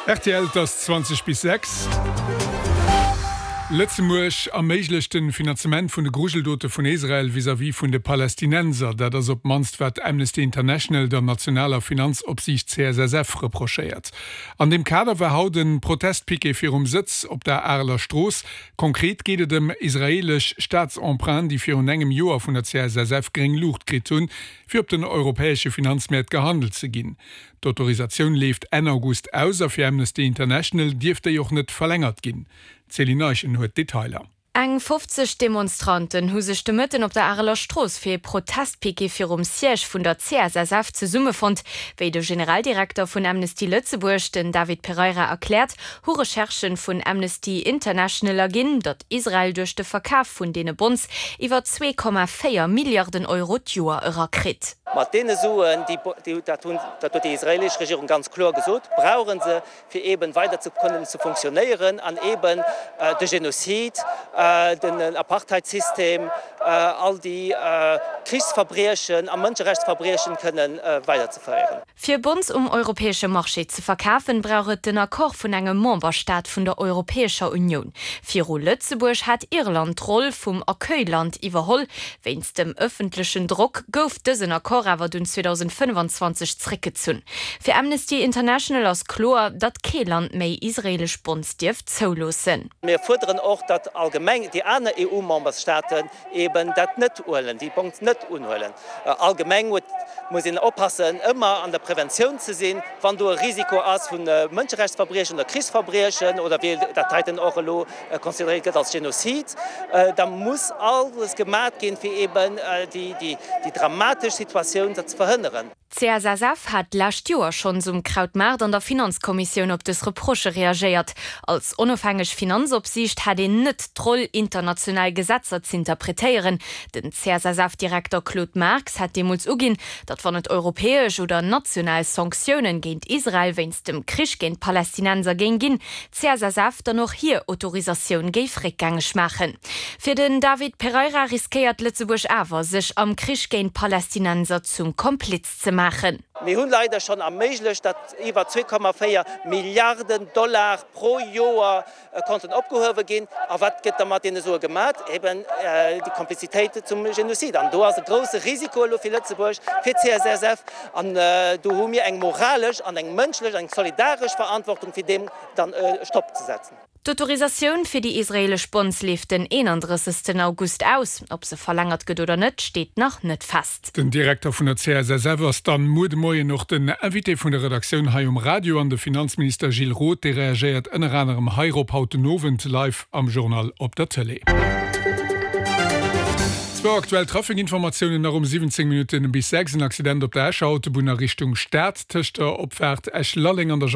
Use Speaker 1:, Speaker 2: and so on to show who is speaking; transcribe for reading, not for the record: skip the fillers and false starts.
Speaker 1: Rtl, Et ass 20 bis 6. Lëtzebuerg erméiglecht de Finanzement vun de Grujeldote vun Israel vis-à-vis vun de Palästinenser. Dat ass op d'mannst wat Amnesty International der nationaler Finanzopsiicht CSSF reprochéiert. An deem Kader war haut e Protestpiquet virum Sëtz op der Areler Strooss. Konkret geet et ëm israeelesch Staatsemprunten, déi virun engem Joer vun der CSSF gréng Luucht kritt hunn, fir op den europäesche Finanzmäert gehandelt ze ginn. D'Autorisatioun leeft Enn August aus a fir Amnesty International dierft déi och net verlängert ginn. D'Céline Eischen huet d'Detailer.
Speaker 2: Eng 50 Demonstranten hu sech de Mëtten op der Areler Strooss fir ee Protestpiquet virum Siège vun der CSSF zesummefonnt. Wéi de Generaldirekter vun Amnesty Lëtzebuerg, den David Pereira, erkläert, hu Recherchen vun Amnesty International erginn, datt Israel duerch de Verkaf vun deene Bonds iwwer 2,4 Milliarden Euro d'Joer erakritt.
Speaker 3: Mat deene Suen, déi, dat hunn, dat huet déi israelesch Regierung ganz kloer gesot, brauche se, fir eeben weider ze kënnen ze funktionéieren an eeben de Genozid, den Apartheidsystem, all déi Krichsverbriechen a Mënscherechtsverbriechen kënnen weiderzeféieren.
Speaker 2: Fir Bonds um europäesche Marché ze verkafen, brauch et den Accord vun engem Memberstaat vun der Europäescher Unioun. Viru Lëtzebuerg hat Irland d'Roll vum Accueil-Land iwwerholl. Wéinst dem ëffentlechen Drock gouf dësen Accord awer dunn 2025 zréckgezunn. Fir Amnesty International ass kloer, datt kee Land méi israeelesch Bonds dierf zouloossen.
Speaker 3: Mir fuerderen och, datt allgemeng déi aner EU-Memberstaaten eben dat net huelen, déi Bonds net unhuelen. Allgemeng huet, muss een oppassen, ëmmer an der Preventioun ze sinn, wann do e Risiko ass vu Mënscherechtsverbriechen oder Krichsverbriechen oder wéi dat heiten och elo consideréiert gëtt als Genozid, da muss alles gemat ginn, fir eben déi dramatesch Situatioun ze verhënneren.
Speaker 2: D'CSSF hat d'lescht Joer schonns um Krautmaart an der Finanzkommissioun op dës Reprochë reagéiert. Als onofhängeg Finanzopsiicht hätt een net d'Roll, international Gesetzer z'interpretéieren. Den CSSF-Direkter Claude Marx hat deemools uginn, datt wann et europäesch oder national Sanktiounen géint Israel wéinst dem Krich géint d'Palästinenser géing ginn, d'CSSF dann och hir Autorisatioun géif réckgängeg maachen. Fir den David Pereira riskéiert Lëtzebuerg awer, sech am Krich géint d'Palästinenser zum Kompliz ze maachen.
Speaker 3: Mir hunn leider schonn erméiglecht, datt iwwer 2,4 Milliarden Dollar pro Joer konnten opgehuewe ginn. A wat gëtt da mat deene Sue gemat? Eben déi Komplizitéit zum Genozid. An do ass e grousse Risiko elo fir Lëtzebuerg, fir d'CSSF. An do hu mir eng moralesch an eng mënschlech, eng solidaresch Verantwortung, fir deem dann e Stopp ze setzen.
Speaker 2: D'Autorisatioun fir déi israeelesch Bonds leeft den 31. August aus. Ob se verlängert gëtt oder net, steet nach net fest.
Speaker 1: Den Direkter vun der CSSF ass dann muer de Moien och den Invité vun der Redaktioun hei um Radio. An de Finanzminister Gilles Roth, dee reagéiert ënner anerem heirop haut den Owend live am Journal op der Tëlee. Zwou aktuell Traficinformatiounen nach um 17 Minutten bis 6, En Accident op der Escher Autobunn a Richtung Stad tëscht der Opfaart Esch-Lalleng an der.